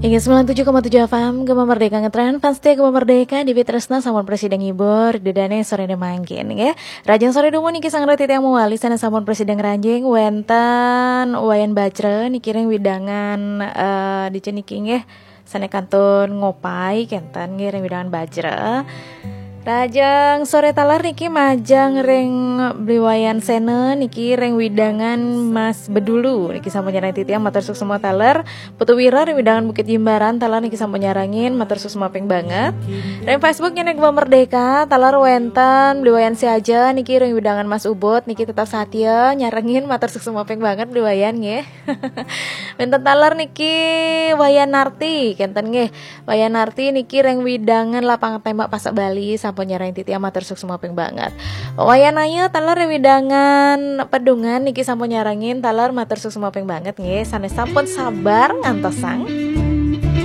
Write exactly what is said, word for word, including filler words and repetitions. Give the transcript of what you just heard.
Inggih, sembilan tujuh koma tujuh F M, Gema Merdeka ngetren, fans setia Gema Merdeka, Dewi Tresna sampun prasida ngibur, dedane sorene mangkin, nggih. Rajang sore dumun niki sareng titiang mawali sanes sampun prasida ngranjing wenten Wayan Bajra niki ring wewidangan, eh, dija niki nggih. Sane kantun Ngopai kenten nggih ring wewidangan Bajra. Rajang sore taler niki majeng ring Bli Wayan Sena niki ring wewidangan Mas Bedulu niki sampun nyarengin titiang, matur suksma taler. Putu Wira ring wewidangan Bukit Jimbaran taler niki sampun nyarengin, matur suksma ping banget. Ring Facebook nyenek Gema Merdeka taler wenten Bli Wayan Siaja niki ring wewidangan Mas Ubud niki tetap satia nyarengin, matur suksma ping banget Bli Wayan nggih. Wenten taler niki Wayan Narti kenten nggih. Wayan Narti niki ring wewidangan Lapangan Tembak Pasar Bali sampun nyarengin titiang, matur suksma ping banget. Wayan Ayu taler ring wewidangan Pedungan niki sampun nyarengin taler, matur suksma ping banget nggih. Sane sampun sabar ngantosang.